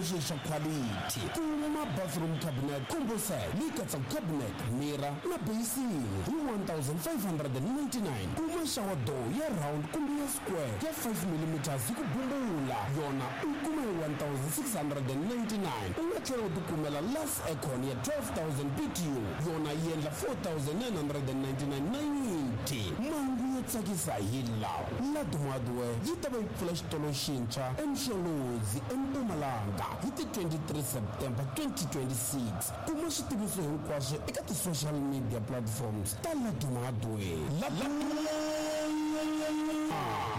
leswi swa quality. Kuma bathroom cabinet combo set leyi katsaka cabinet, mirror na basin hi 1599. Kuma shower door ya round kumbe ya square ya 5 millimeters hi ku bumbula, yona u yi kuma hi 1699. U nga tlhela u tikumela Lux Aircon ya 12000 BTU, yona yi endla 4999.90. Mahungu yo tsakisa hi lawa, Laduma Hardware yi ta va yi pfula xitolo xintshwa eMsholozi, eMpumalanga hi ti 23 September 2026. Kuma switiviso hinkwaswo eka ti-social media platforms ta Laduma Hardware. Laduma,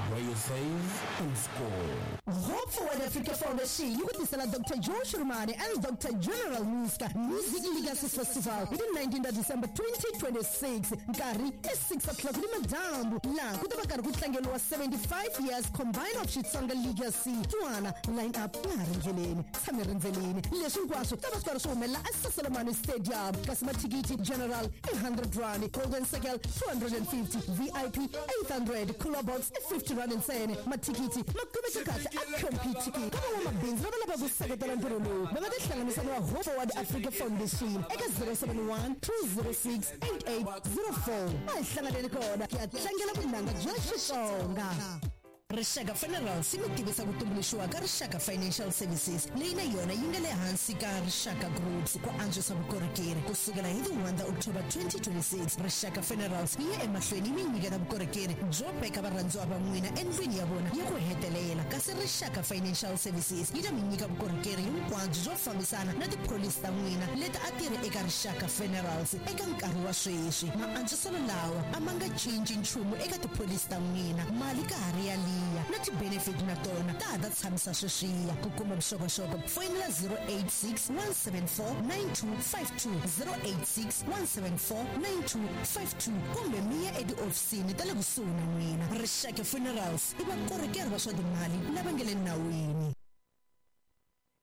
where you save and score. Hope Forward Africa Foundation yi ku tisela Doctor Joe Shirimani and Doctor General Muska Music Legacy Festival hi ti 19 ta December 2026, nkarhi i 6 o'clock ni madyambu, laha ku ta va karhi ku tlangeriwa 75 years combined of Xitsonga Legacy. Twana line up ya ha ri ndleleni, tshame rindzeleni. Leswi hinkwaswo ta va swi karhi swi humelela eSasolomani Stadium, kasi mathikithi general i 100 rand, golden circle 250, VIP 800, cooler box i 50 rand ntsena. Mathikithi ma kumeka kahle a Computicket. Ka van'wamabindzu lava lavaka ku seketela ntirho lowu, va nga tihlanganisa na Hope Forward Africa Foundation eka 071 206 8804. A hi hlanganeni kona ku ya tlangela vunanga bya Xitsonga. Rixaka Funerals yi mi tivisa ku tumbuluxiwa ka Rixaka Financial Services, leyi na yona yi nga le hansi ka Rixaka Groups ku antswisa vukorhokeri. Ku sukela hi ti 1 ta October 2026, Rixaka Funerals yi ya emahlweni yi mi nyiketa vukorhokeri byo veka varhandziwa va n'wina endlwini ya vona ya ku hetelela, kasi Rixaka Financial Services yi ta mi nyika vukorhokeri hinkwabyo byo fambisana na tipholisi ta n'wina leti a ti ri eka Rixaka Funerals eka nkarhi wa sweswi. Maantswiselo lawa a ma nga cinci nchumu eka tipholisi ta n'wina, mali ka ha ri yaliya na ti-benefit na tona ta ha ta tshamisa sweswiya. Ku kuma vuxokoxoko foyinela 086 174 9252, 086 174 9252, kumbe mi ya etihofisini ta le kusuhi na n'wina. Rixaka Funerals i vakorhokeri va swa timali lava nga le nawini.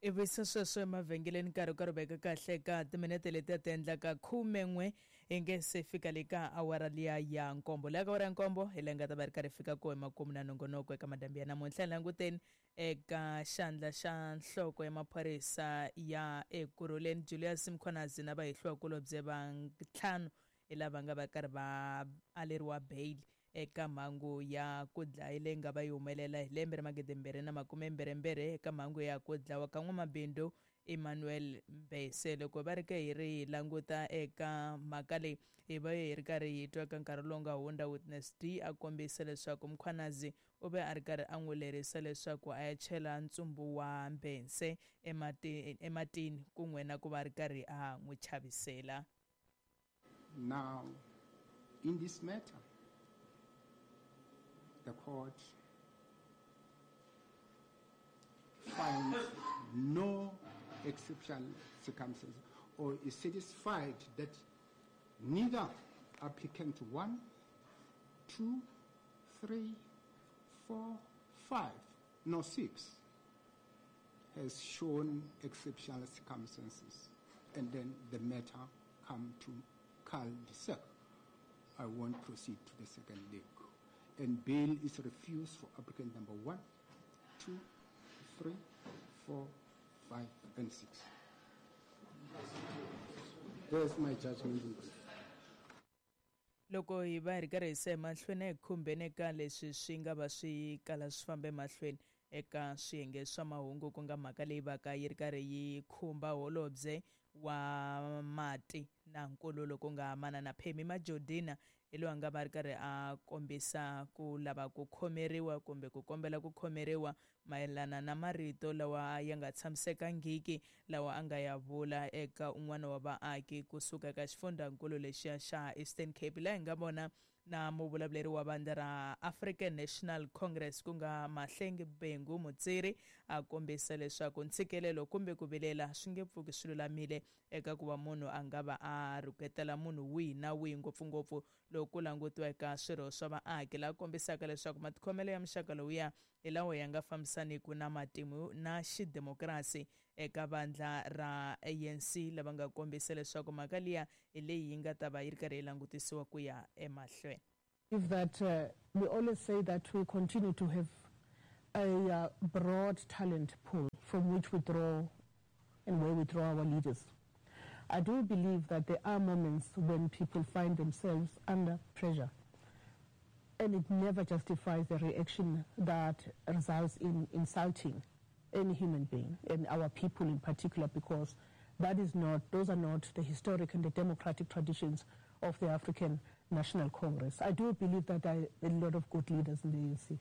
Ivi se sweswo emavhengeleni nkarhi wu karhi wu veka kahle ka timinete leti a ti endlaka khumen'we hi nge se fika le ka awara liya ya nkombo. Leya ka awara ya nkombo hi leyi nga ta va ri karhi fika ko emakumu na nongonoko eka madambi ya namuntlha. Hi languteni eka xandla xa nhloko ya maphorisa ya Ekurhuleni Julius Mkhwanazi na vahehliwakulobye va ntlhanu hi lava nga va karhi va aleriwa bail eka mhangu ya ku dlaya leyi nga va yi humelela hi lembe ra magidimbirhi na makumembirhimbirhi eka mhangu ya ku dlawa ka n'wamabindzu Emmanuel Mbese. Loko va ri ke hi ri hi languta eka mhaka leyi, hi va hi ri karhi hi twa eka nkarhi lowu nga hundza Witness D a kombisa leswaku Mkhwanazi u ve a ri karhi a n'wi lerisa leswaku a ya chela ntsumbu wa Mbese ematini kun'we na ku va a ri karhi a n'wi chavisela. Now, in this matter, the court finds no exceptional circumstances or is satisfied that neither applicant 1, 2, 3, 4, 5, nor 6 has shown exceptional circumstances, and then the matter come to cul-de-sac. I won't proceed to the second leg. And bail is refused for applicant number 1, 2, 3, 4, 5, and 6. There's my judgment in brief. Loko hi va hi ri karhi hi se emahlweni a hi khumbeni eka leswi swi nga va swi kala swi famba emahlweni eka swiyenge swa mahungu, ku nga mhaka leyi vaka yi ri karhi yi khumba holobye wa mati na nkululo ku nga Manana Pemmy Majodina, hi loyi a nga va a ri karhi a kombisa ku lava ku khomeriwa kumbe ku kombela ku khomeriwa mayelana na marito lawa ya nga tshamisekangiki lawa a nga ya vula eka un'wana wa vaaki ku suka eka xifundhankulu lexiya xa Eastern Cape, laha hi nga vona na muvulavuleri wa vandla ra African National Congress ku nga Mahlengi Bhengu Motsiri a kombisa leswaku ntshikelelo kumbe ku vilela swi nge pfuki swi lulamile eka ku va munhu a nga va a rhuketela munhu wihi na wihi, ngopfungopfu loko ku langutiwa eka swirho swa vaaki, laha kombisaka leswaku matikhomelo ya muxaka lowuya hi lawa ya nga fambisaniku na matimu na xidemokirasi eka vandla ra ANC, lava nga kombisa leswaku mhaka liya hi leyi yi nga ta va yi ri karhi yi langutisiwa ku ya emahlweni. That we always say that we continue to have a broad talent pool from which we draw and where we draw our leaders. I do believe that there are moments when people find themselves under pressure, and it never justifies the reaction that results in insulting any human being, and our people in particular, because those are not the historic and the democratic traditions of the African National Congress. I do believe that there are a lot of good leaders in the ANC,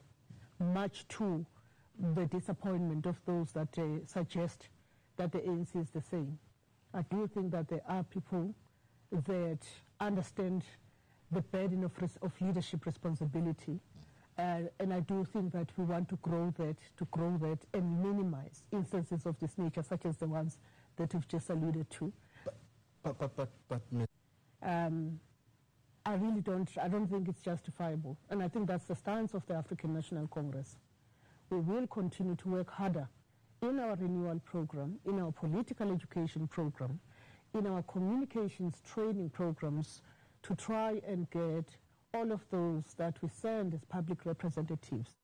much to the disappointment of those that suggest that the ANC is the same. I do think that there are people that understand the burden of leadership responsibility, and I do think that we want to grow that and minimize instances of this nature, such as the ones that you've just alluded to. But I really don't. I don't think it's justifiable, and I think that's the stance of the African National Congress. We will continue to work harder in our renewal program, in our political education program, in our communications training programs, to try and get all of those that we send as public representatives.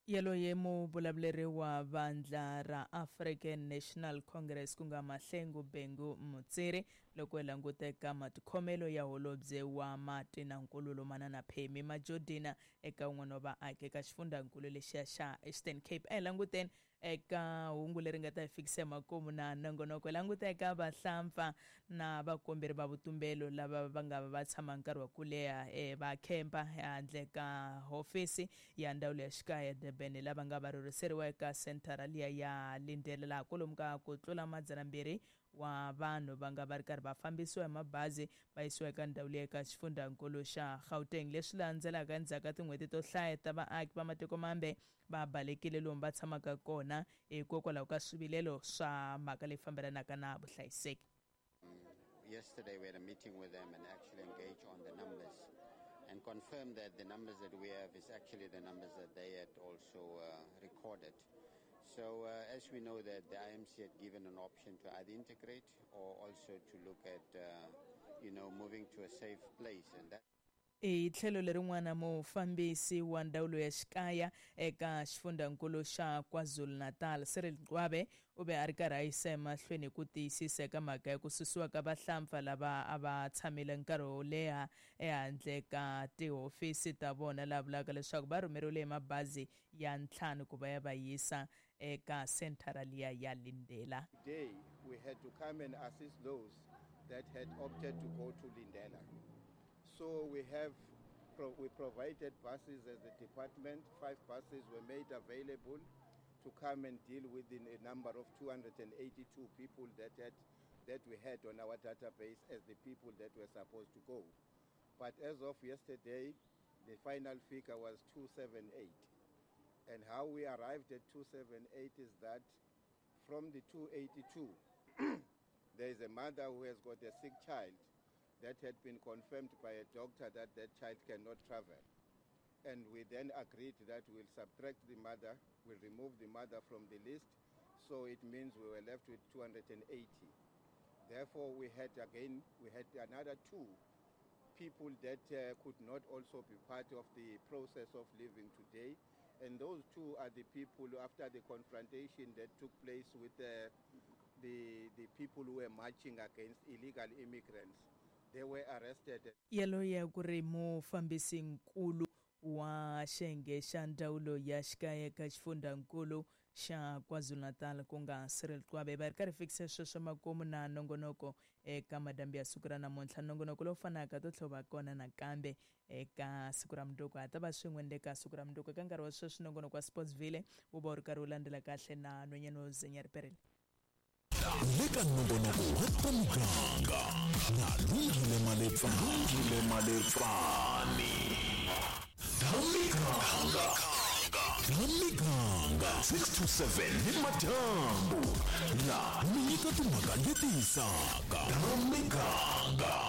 Yaloye muvulavuleri wa vandla ra African National Congress ku nga Mahlengu Bhengu Mutsiri loko hi languteka matikhomelo ya holobye wa mati na nkululo Manana Phemi Majodina eka un'wana wa vaaki eka xifundzankulu lexiya xa Eastern Cape. A hi languteni eka hungu leri nga ta hi fikisa emakumu na nongonoko. Languta eka vahlampfa na vakomberi va vutumbelo lava va nga va tshama nkarhi wa ku leha va khempa handle ka hofisi ya ndzawulo ya xikaya Durban, lava nga va rhurhiseriwa eka senthara liya ya Lindela, laha kwalomu ka ku tlula 200 wa vanhu va nga va ri karhi va fambisiwa hi mabazi va yisiwa eka ndhawu leyi eka xifundzankulu xa Gauteng. Leswi landzelaka endzhaku ka tin'hweti to hlaya ta vaaki va matiko mambe va balekile lomu va tshamaka kona hikokwalaho ka swivilelo swa mhaka leyi fambelanaka na vuhlayiseki. Yesterday we had a meeting with them and actually engaged on the numbers and confirmed that the numbers that we have is actually the numbers that they had also recorded. So as we know that the IMC had given an option to either integrate or also to look at, moving to a safe place. And that hi tlhelo lerin'wana mufambisi wa ndzawulo ya xikaya eka xifundzankulu xa KwaZulu-Natal Cyril Gqwabe u ve a ri karhi a yisa emahlweni ku tiyisisa eka mhaka ya ku susiwa ka vahlampfa lava a va tshamile nkarhi wo leha ehandle ka tihofisi ta vona, laha vulaka leswaku va rhumeriwile hi mabazi ya 5 ku va ya va yisa eka senthara liya ya Lindela. Today we had to come and assist those that had opted to go to Lindela. So we provided buses as the department. 5 buses were made available to come and deal with a number of 282 people that we had on our database as the people that were supposed to go. But as of yesterday, the final figure was 278. And how we arrived at 278 is that from the 282, there is a mother who has got a sick child that had been confirmed by a doctor that that child cannot travel. And we then agreed that we'll subtract the mother, we'll remove the mother from the list, so it means we were left with 280. Therefore, we had another 2 people that could not also be part of the process of leaving today. And those 2 are the people after the confrontation that took place with the people who were marching against illegal immigrants. They were arrested. Yaloye ku ri mufambisinkulu wa xiyenge xa ndzawulo ya xikaya eka xifundzankulu xa KwaZulu-Natal ku nga Cyril Gqwabe. Va ri karhi fikisa sweswo makumu na nongonoko eka madambi ya siku ra namuntlha. Nongonoko lowu fanaka to tlhela va kona nakambe eka siku ra mundzuku. Ha ta va swin'we ni le ka siku ra mundzuku. Eka nkarhi wa sweswi nongonoko wa Sportsville wu va wu ri karhi wu landzela kahle na nhwanyana wo Zenya Riperile. Leka nongonoko wa ta muganga na Lungile Malefani. Miganga 6 to 7 ni madyambu na mi nyika timhaka leti hisaka. Miganga.